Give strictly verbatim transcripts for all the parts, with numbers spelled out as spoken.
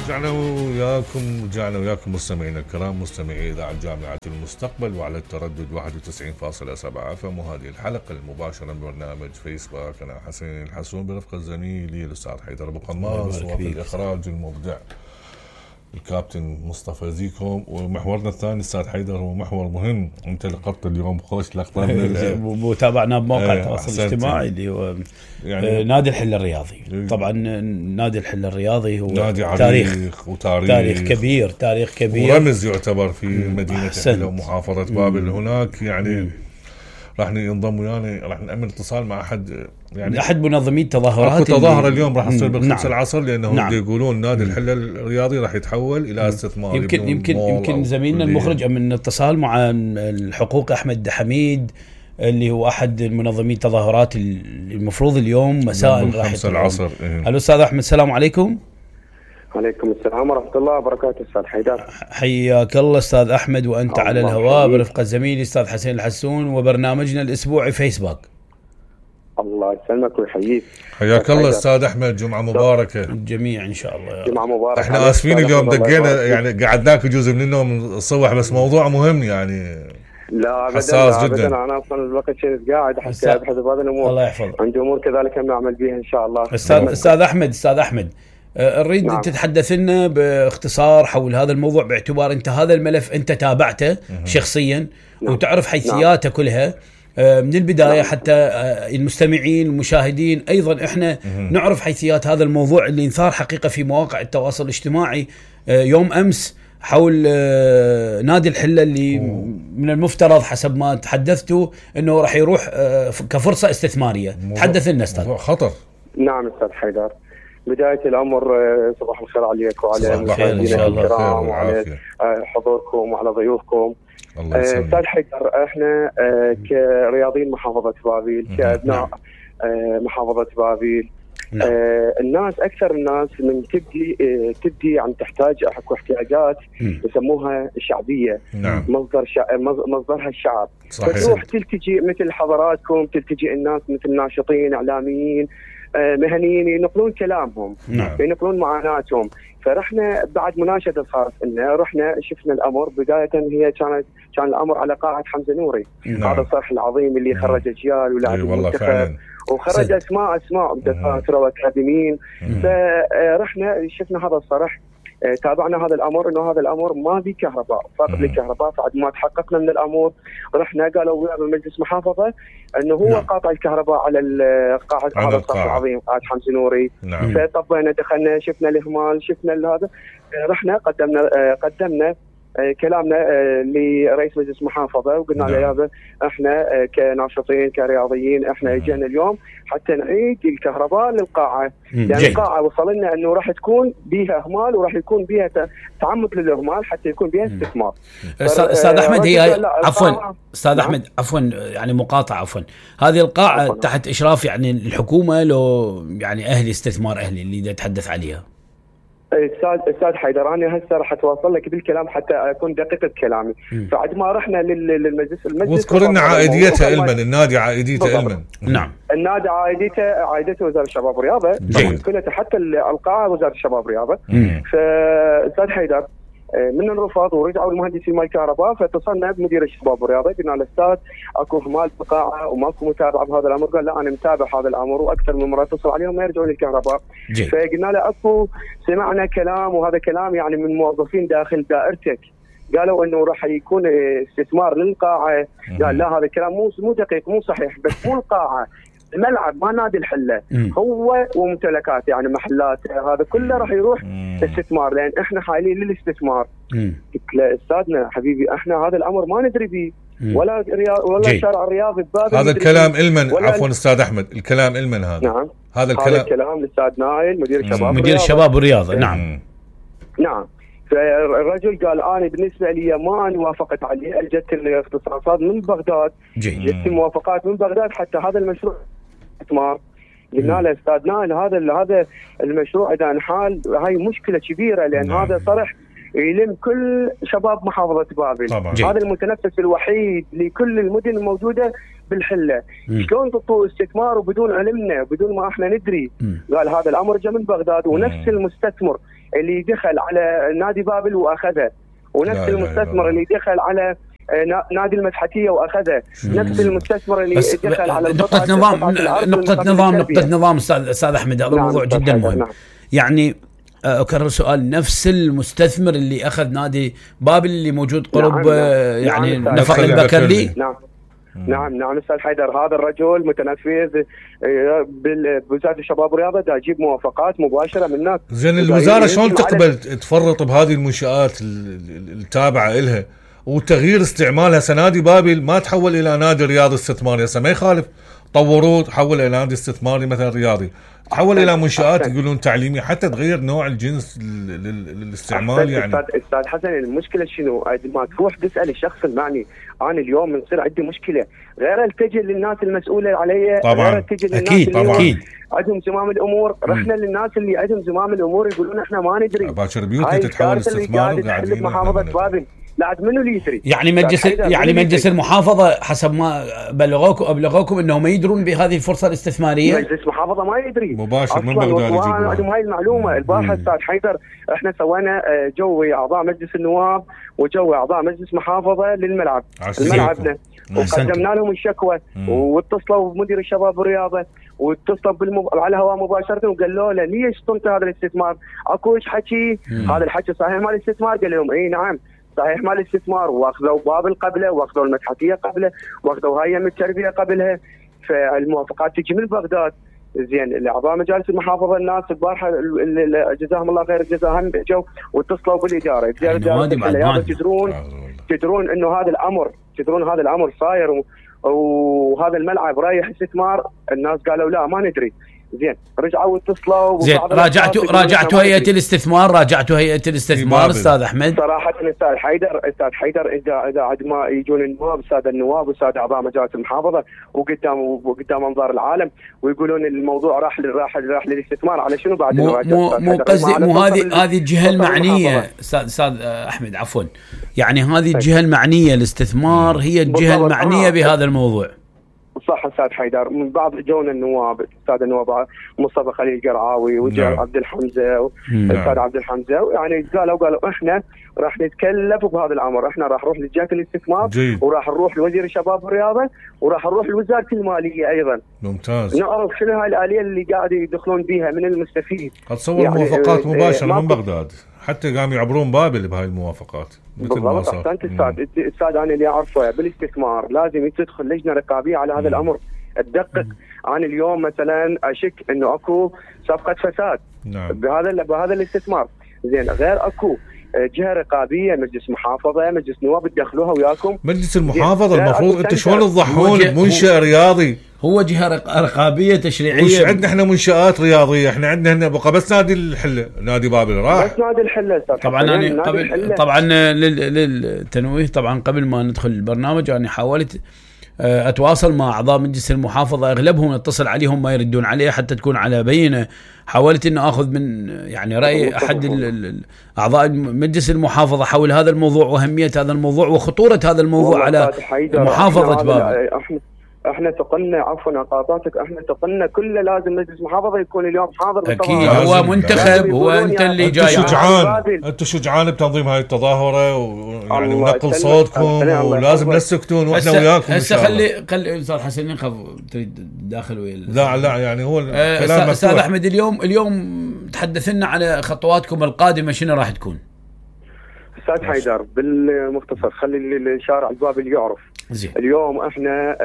رجعنا وياكم رجعنا وياكم مستمعينا الكرام، مستمعي اذاعه جامعه المستقبل وعلى التردد واحد وتسعين فاصلة سبعة اف ام. وهذه الحلقه المباشره من برنامج فيسبوك. انا حسين الحسون برفقه زميلي الاستاذ حيدر ابو قماص، وفي الاخراج المبدع الكابتن مصطفى زيكو. ومحورنا الثاني استاذ حيدر هو محور مهم، انت لقطت اليوم خوش لقطه وتابعناه بموقع التواصل الاجتماعي اللي هو يعني نادي الحل الرياضي. طبعا نادي الحل الرياضي هو نادي تاريخ وتاريخ تاريخ كبير تاريخ كبير ورمز يعتبر في مدينه حلة ومحافظه بابل. هناك يعني راح ينضم ويانا، راح نأمن اتصال مع احد يعني احد منظمي التظاهرات. تظاهره اليوم راح تصير بالخمسة نعم. العصر، لانه نعم. يقولون نادي الحلة الرياضي راح يتحول الى استثمار. يمكن يمكن يمكن زميلنا المخرج من اتصال مع الحقوق احمد حميد اللي هو احد المنظمين التظاهرات المفروض اليوم مساء راح الخمسة العصر. إيه. الو استاذ احمد، السلام عليكم. عليكم السلام ورحمة الله وبركاته. أستاذ حيدر حياك الله أستاذ أحمد، وأنت على الهواء برفقة زميلي أستاذ حسين الحسون وبرنامجنا الأسبوعي فيسبوك. الله يسلمك ويحييك. حياك الله أستاذ أحمد، جمعة مباركة الجميع إن شاء الله. جمعة مباركة. احنا آسفين اليوم دقينا يعني قعدناك جزء من النوم الصبح، بس موضوع مهم يعني لا أبدا حساس لا جدا. أبدا. أنا أصلا الوقت شيء قاعد حتى أبحث بهذه الأمور. الله يحفظك. عندي أمور كذلك هم نعمل بها إن شاء الله. أستاذ أستاذ أحمد أستاذ أحمد أريد نعم. تتحدث لنا باختصار حول هذا الموضوع، باعتبار أنت هذا الملف أنت تابعته مه. شخصيا نعم. وتعرف حيثياته نعم. كلها من البداية نعم. حتى المستمعين المشاهدين أيضا إحنا مه. نعرف حيثيات هذا الموضوع اللي انثار حقيقة في مواقع التواصل الاجتماعي يوم أمس حول نادي الحلة اللي أوه. من المفترض حسب ما تحدثتوا أنه راح يروح كفرصة استثمارية. تحدث لنا أستاذ. خطر. نعم أستاذ حيدر، بداية الأمر صباح الخير عليك وعلى مشاهدينا الكرام وعلى حضوركم وعلى ضيوفكم. أستاذ حيدر، احنا كرياضيين محافظة بابيل، كأبناء محافظة بابيل، نعم. الناس أكثر الناس من تبدي تبدي عن تحتاج أكو احتياجات يسموها الشعبية. نعم. مصدر شع... مصدرها الشعب. فتروح تلتجي مثل حضراتكم، تلتجي الناس مثل ناشطين إعلاميين مهنيين ينقلون كلامهم نعم. ينقلون معاناتهم. فرحنا بعد مناشدة صارت لنا، رحنا شفنا الأمر. بداية هي كانت كان الأمر على قاعة حمزة نوري. نعم. هذا الصرح العظيم اللي خرج أجيال ولاعب المنتخب وخرج أسماء أسماء دكاترة وأكاديميين. فرحنا شفنا هذا الصرح، تابعنا هذا الأمر إنه هذا الأمر ما في كهرباء، فقط للكهرباء. بعد ما تحققنا من الأمر رحنا قالوا ويا مجلس محافظة إنه هو نعم. قاطع الكهرباء على القاعة، هذا الصف العظيم قاعة حمزة نوري. نعم. فطبينا دخلنا شفنا الإهمال، شفنا هذا، رحنا قدمنا قدمنا كلامنا لرئيس مجلس محافظة وقلنا له يابا احنا كناشطين كرياضيين احنا اجينا اليوم حتى نعيد الكهرباء للقاعة، لان يعني القاعة وصل لنا انه راح تكون بيها اهمال وراح يكون بيها تعمد للاهمال حتى يكون بيها استثمار. استاذ احمد، هي عفوا استاذ احمد عفوا يعني مقاطعة عفوا، هذه القاعة عفواً. تحت اشراف يعني الحكومة لو يعني اهلي استثمار اهلي اللي يتحدث عليها؟ استاذ استاذ حيدر، انا هسه راح اتواصل لك بالكلام حتى اكون دقيق بكلامي. بعد ما رحنا للمجلس المجلس واذكر لنا عائديته المن، النادي عائديته المن. نعم. النادي عائديته عائدته وزاره الشباب والرياضه، كلها حتى القاعه وزاره الشباب والرياضه. فاستاذ حيدر من الرفض ورجعوا المهندسين مال الكهرباء، فاتصلنا بمدير الشباب والرياضه قلنا له استاذ اكو اهمال في القاعه وماكو متابعه بهذا الامر. قال لا انا متابع هذا الامر، واكثر من مره اتصل عليهم ما يرجعون الكهرباء. فقلنا له اكو سمعنا كلام، وهذا كلام يعني من موظفين داخل دائرتك قالوا انه راح يكون استثمار للقاعه. قال لا هذا الكلام مو مو دقيق مو صحيح، بس مو القاعه، الملعب ما نادي الحلة هو وممتلكات يعني محلات، هذا كله راح يروح استثمار، لان احنا حايلين للاستثمار. قلت له استاذنا حبيبي احنا هذا الامر ما ندري به، ولا رياض ولا الشارع الرياضي ببابل. هذا الكلام المن عفوا استاذ احمد، الكلام المن هذا. نعم هذا الكلام هذا الكلام للاستاذ نايل مدير الشباب مدير الشباب والرياضه. نعم نعم. فالرجل قال انا بالنسبه لي ما انا وافقت عليه، اجت الاختصاصات من بغداد، جت الموافقات من بغداد حتى هذا المشروع استثمار. قلنا له استاذ نايل هذا هذا المشروع اذا انحال هاي مشكله كبيره، لان نعم. هذا صرح يلم كل شباب محافظه بابل. طبعا. هذا المتنفس الوحيد لكل المدن الموجوده بالحله. شلون تعطوا استثمار وبدون علمنا بدون ما احنا ندري؟ م. قال هذا الامر جاء من بغداد، ونفس المستثمر اللي دخل على نادي بابل واخذه، ونفس المستثمر اللي دخل على نادي المسحتيه واخذه، نفس المستثمر اللي دخل على نقطه نظام نقطه نظام نقطه نظام استاذ استاذ احمد، هذا نعم موضوع جدا مهم. نعم. يعني اكرر سؤال، نفس المستثمر اللي اخذ نادي بابل اللي موجود قرب نعم. يعني نعم. نفق البكرلي. نعم نعم نعم استاذ حيدر، هذا الرجل متنفذ بوزاره الشباب والرياضه، دا يجيب موافقات مباشره من الناس. زين الوزاره شلون تقبل تفرط بهذه المنشآت التابعه لها وتغيير استعمالها؟ سنادي بابل ما تحول الى نادي رياضي استثماري، هسه ما يخالف طوروه تحول الى نادي استثماري مثلا رياضي، تحول الى منشآت يقولون تعليميه حتى تغير نوع الجنس للاستعمال. يعني استاذ حسن المشكله شنو؟ ما تروح تسال الشخص المعني، انا اليوم بنصير عندي مشكله غير التجي للناس المسؤوله علي، غير التجي للناس أكيد اللي عندهم زمام الامور. رحنا للناس اللي عندهم زمام الامور يقولون احنا ما ندري. باكر بيوتي تتحول استثمار وقاعدين محافظه بابل، لا منو اللي يدري؟ يعني مجلس يعني مجلس المحافظه حسب ما بلغوكم ابلغوكم انه ما يدرون بهذه الفرصه الاستثماريه؟ مجلس المحافظه ما يدري مباشر من بغداد يجيبون عندهم هاي المعلومه. البارحه استاذ حيدر احنا سوينا جوي اعضاء مجلس النواب وجوي اعضاء مجلس محافظه للملعب الملعبنا، وقدمنا لهم الشكوى واتصلوا بمدير الشباب والرياضه واتصلوا بالمب... على الهواء مباشره وقالوا له ليش صمت هذا الاستثمار؟ اكوش حكي هذا الحكي صحيح مال الاستثمار؟ قال لهم اي نعم صحيح مال الاستثمار، واخذوا بابل قبله واخذوا المسحتيه قبله واخذوا هيئه التربيه قبلها، فالموافقات تجي من بغداد. زين الاعضاء مجالس المحافظه الناس البارحه جزاهم الله خير الجزاء هم جو واتصلوا بالاداره، الاداره تدرون تدرون انه هذا الامر تدرون هذا الامر صاير وهذا الملعب رايح استثمار. الناس قالوا لا ما ندري. زين رجعوا اتصلوا. زين راجعتوا راجعتوا هيئه الاستثمار راجعتوا هيئه الاستثمار استاذ احمد؟ صراحه استاذ حيدر استاذ حيدر اذا اذا عد ما يجون النواب الساده النواب والساده اعضاء مجالس المحافظه وقدام وقدام انظار العالم ويقولون الموضوع راح راح راح للاستثمار على شنو بعد؟ مو مو مو قصدي مو هذه هذه الجهه المعنيه استاذ استاذ احمد عفوا، يعني هذه الجهه المعنيه الاستثمار هي الجهه المعنيه بهذا الموضوع. صح استاذ حيدر، من بعض جونا النواب استاذ النواب مصطفى خليل قرعاوي وجاء عبد الحمزه استاذ عبد الحمزه، يعني قالوا قالوا احنا راح نتكلف بهذا الامر، احنا راح نروح لجهه الاستثمار وراح نروح لوزير الشباب والرياضه وراح نروح لوزاره الماليه ايضا. ممتاز. نعرف شنو هاي الاليه اللي قاعد يدخلون بها من المستفيد. اتصور يعني موافقات مباشره من بغداد حتى قاموا يعبرون بابل بهاي الموافقات. بالضبط احسنت استاذ استاذ انا اللي اعرفه بالاستثمار لازم تدخل لجنه رقابيه على هذا الامر تدقق. انا اليوم مثلا اشك انه اكو صفقه فساد نعم. بهذا بهذا الاستثمار. زين غير اكو جهه رقابيه مجلس محافظه مجلس نواب تدخلوها وياكم. مجلس المحافظه المفروض انتم شلون تضحون بمنشأ رياضي؟ هو جهه رقابيه تشريعيه. وش عندنا احنا منشآت رياضيه؟ احنا عندنا هنا بقى بس نادي الحله نادي بابل راح بس نادي الحله طبعا. انا قبل طبعا للتنويه طبعا قبل ما ندخل البرنامج انا حاولت اتواصل مع اعضاء مجلس المحافظه، اغلبهم اتصل عليهم ما يردون عليه حتى تكون على بينه. حاولت ان اخذ من يعني راي احد اعضاء مجلس المحافظه حول هذا الموضوع واهميه هذا الموضوع وخطوره هذا الموضوع على محافظه بابل. احنا تقلنا عفوا قاطعتك احنا تقلنا كله لازم مجلس محافظه يكون اليوم حاضر. اكيد هو منتخب هو انت اللي جاي. شجعان انتم شجعان بتنظيم هاي التظاهره ويعني نقل صوتكم ولازم لا تسكتون واحنا وياكم. هسه خلي خلي استاذ حسن نخف تريد تداخل ويا لا لا يعني هو الكلام استاذ احمد اليوم اليوم تحدث لنا على خطواتكم القادمه شنو راح تكون؟ استاذ حيدر بالمختصر خلي الشارع البابل يعرف. زي. اليوم احنا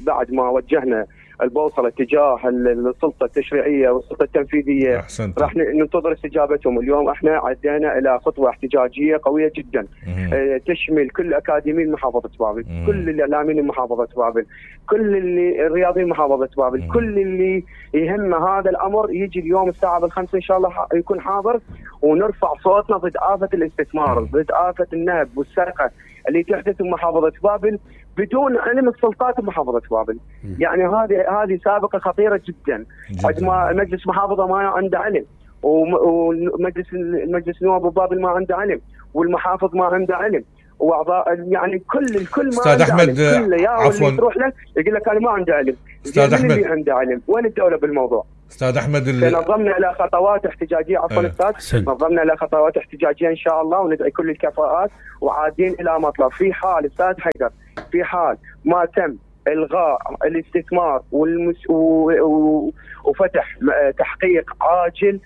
بعد ما وجهنا البوصله تجاه السلطه التشريعيه والسلطه التنفيذيه أحسنت. راح ننتظر استجابتهم. اليوم احنا عدينا الى خطوه احتجاجيه قويه جدا اه تشمل كل اكاديميين محافظه بابل، كل الاعلاميين محافظه بابل، كل اللي الرياضيين محافظه بابل، مم. كل اللي يهم هذا الامر يجي اليوم الساعه بالخمسه ان شاء الله يكون حاضر ونرفع صوتنا ضد آفة الاستثمار، ضد آفة النهب والسرقه اللي تحدث بمحافظه بابل بدون علم السلطات بمحافظه بابل. يعني هذه هذه سابقه خطيره جدا. قد ما مجلس محافظه ما عنده علم ومجلس المجلس نواب بابل ما عنده علم والمحافظ ما عنده علم، واعضاء يعني كل الكل ما استاذ عنده احمد علم. كل يا عفوا اللي تروح له يقول لك انا ما عندي علم. استاذ احمد اللي عنده علم وين الدوله بالموضوع؟ استاذ احمد نظمنا الى خطوات احتجاجيه عفوا استاذ نظمنا الى خطوات احتجاجيه ان شاء الله، وندعي كل الكفاءات وعادين الى مطلب. في حال استاذ حيدر في حال ما تم الغاء الاستثمار والمس... و... و... وفتح تحقيق عاجل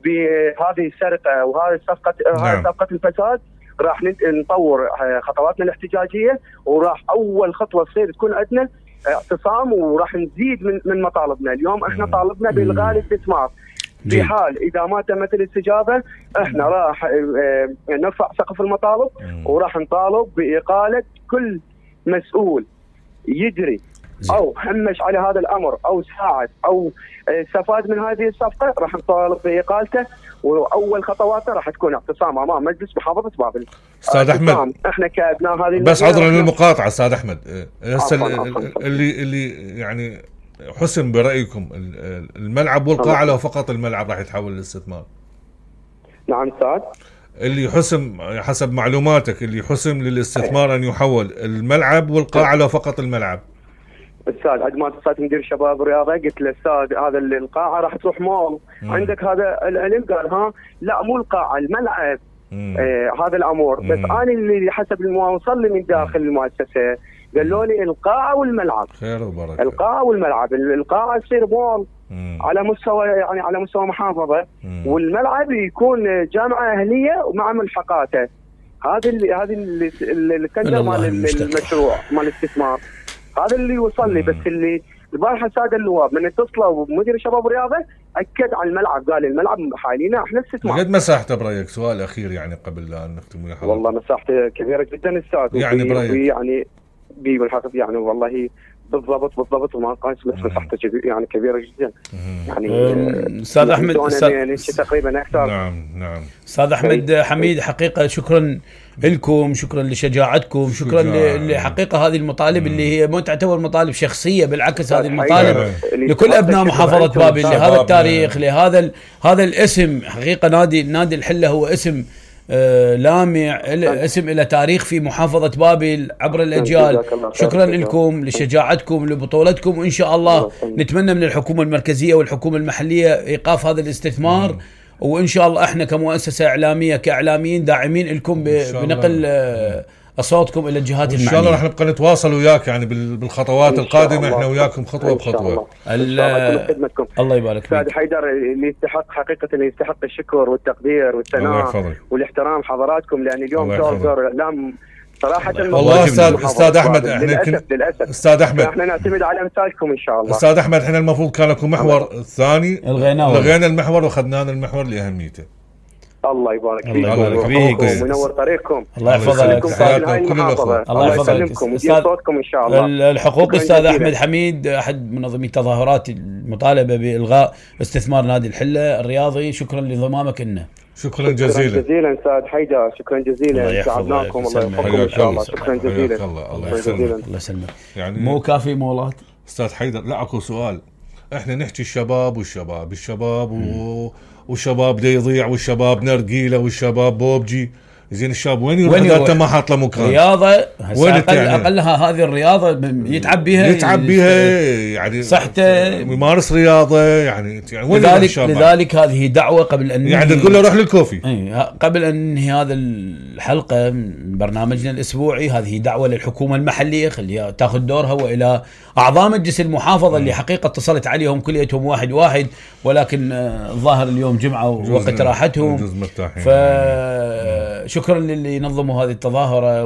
بهذه السرقه وهذه الصفقه نعم. هذه صفقه الفساد، راح نطور خطواتنا الاحتجاجيه، وراح اول خطوه تصير تكون عندنا اعتصام، وراح نزيد من من مطالبنا. اليوم احنا طالبنا بالغاء الاستثمار. في حال اذا ما تمت الاستجابه احنا راح نرفع سقف المطالب، وراح نطالب باقاله كل مسؤول يجري او همش على هذا الامر او ساعد او استفاد من هذه الصفقه، راح نطالب باقالته، واول خطواته راح تكون اعتصام امام مجلس محافظه بابل. استاذ احمد احنا كابناء هذه بس عذرا للمقاطعه استاذ احمد، هسه اللي اللي يعني حسم برايكم الملعب والقاعه لو فقط الملعب راح يتحول للاستثمار؟ نعم استاذ. اللي حسم حسب معلوماتك اللي حسم للاستثمار ان يحول الملعب والقاعه لو فقط الملعب؟ استاذ عندما اتصلت مدير الشباب والرياضه قلت له استاذ هذا القاعه راح تروح مول، عندك هذا العلم؟ قال ها لا مو القاعه الملعب. آه هذا الامر، بس انا اللي حسب ما وصل لي من داخل المؤسسه قالوا لي القاعه والملعب. خير وبركه. القاعه والملعب، القاعه تصير مول على مستوى يعني على مستوى محافظه، والملعب يكون جامعه اهليه ومع ملحقاته. هذه اللي هذه اللي كدر مال المشروع مال الاستثمار، هذا اللي وصل لي. بس اللي البارحه الساده النواب من اتصلوا بمدير الشباب والرياضه اكد على الملعب، قال الملعب حاليا احنا استثمار. قد مساحته برايك؟ سؤال اخير يعني قبل لا نختم ويا حضرتك. والله مساحته كبيره جدا استاذ، يعني برايك يعني بالحقيقه يعني والله بالضبط بالضبط وما قايس، بس مساحته يعني كبيره جدا. يعني استاذ احمد يعني تقريبا اكثر. نعم نعم استاذ احمد حميد، حقيقه شكرا لكم، شكرا لشجاعتكم، شكرا لحقيقه هذه المطالب اللي هي مو تعتبر مطالب شخصيه، بالعكس هذه المطالب لكل ابناء محافظه بابل، لهذا التاريخ، لهذا هذا الاسم. حقيقه نادي نادي الحله هو اسم آه لامع، اسم إلى تاريخ في محافظة بابل عبر الأجيال. شكرا لكم لشجاعتكم لبطولتكم، وإن شاء الله نتمنى من الحكومة المركزية والحكومة المحلية إيقاف هذا الاستثمار، وإن شاء الله إحنا كمؤسسة إعلامية كإعلاميين داعمين لكم بنقل آه أصواتكم إلى الجهات المعنية. إن شاء الله راح نبقى نتواصل وياك يعني بالخطوات القادمة، إحنا وياكم خطوة بخطوة. الله يبارك فيك. أستاذ حيدر اللي يستحق حقيقة اللي يستحق الشكر والتقدير والثناء والاحترام حضراتكم، لأن اليوم دور دور إعلام صراحة. والله أستاذ أستاذ أحمد إحنا للأسف للأسف أستاذ أحمد إحنا نعتمد على أمثالكم إن شاء الله. أستاذ أحمد إحنا المفروض كان لكم محور ثاني، لغينا المحور وخذنا المحور لأهميته. الله يبارك فيك. الله يبارك فيك وينور طريقكم. الله يحفظك. الله يسلمكم ويديم صوتكم ان شاء الله. الحقوق استاذ احمد حميد احد منظمي التظاهرات المطالبه بالغاء استثمار نادي الحله الرياضي، شكرا لانضمامك لنا. شكرا جزيلا. شكرا جزيلا استاذ حيدر، شكرا جزيلا، سعدناكم. الله يحفظكم ان شاء الله. شكرا جزيلا. الله يسلمك. الله يسلمك. يعني مو كافي مولات استاذ حيدر؟ لا اكو سؤال، احنا نحكي الشباب والشباب الشباب و... والشباب دا يضيع، والشباب نرجيله، والشباب بوبجي. زين الشاب وين يروح اذا انت ما حاط له مكان؟ رياضه اقل يعني اقلها هذه الرياضه يتعب بيها يتعب بيها يعني صحته، يمارس رياضه يعني, يعني وين لذلك لذلك هذه دعوه قبل ان يعني تقول له روح للكوفي. اي قبل ان ننهي هذا الحلقه من برنامجنا الاسبوعي، هذه دعوه للحكومه المحليه خليها تاخذ دورها، والى اعضاء مجلس المحافظه اللي حقيقه اتصلت عليهم كليتهم واحد واحد، ولكن الظاهر اليوم جمعه ووقت راحتهم، ف شكرا للي نظموا هذه التظاهرة،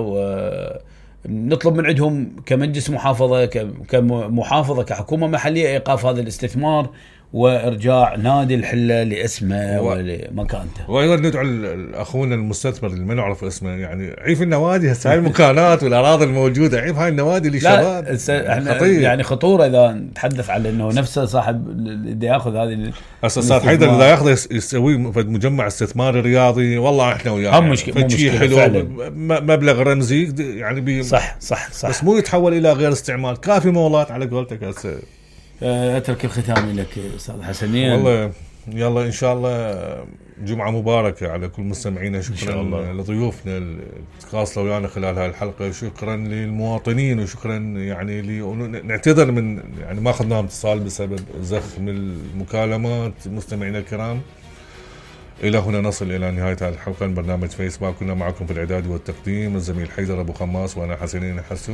ونطلب من عندهم كمجلس محافظة كمحافظة كحكومة محلية إيقاف هذا الاستثمار وإرجاع نادي الحلة لاسمه و... ولمكانته. وأيضا ندعو الأخونا المستثمر اللي ما نعرف اسمه، يعني عيف النوادي هسه هاي المكانات والأراضي الموجودة، عيف هاي النوادي للشباب. احنا يعني خطورة إذا نتحدث على إنه نفسه صاحب اللي ياخذ هذه أساسات حيدر إذا ياخذ يسوي مجمع استثماري رياضي، والله إحنا وياه هم مشكلة حلو مبلغ رمزي يعني بي صح صح صح، بس مو يتحول إلى غير استعمال. كافي مولات على قولتك هسه. اترك الختام لك استاذ حسنين. والله يلا ان شاء الله جمعه مباركه على كل مستمعينا. شكرا لضيوفنا اللي تواصلوا ويانا خلال هاي الحلقه. شكرا للمواطنين وشكرا يعني لي نعتذر من يعني ما اخذنا اتصال بسبب زخم المكالمات. مستمعينا الكرام الى هنا نصل الى نهايه هذه الحلقه من برنامج فيسبوك. كنا معكم في الاعداد والتقديم الزميل حيدر ابو خماس وانا حسنين الحسن.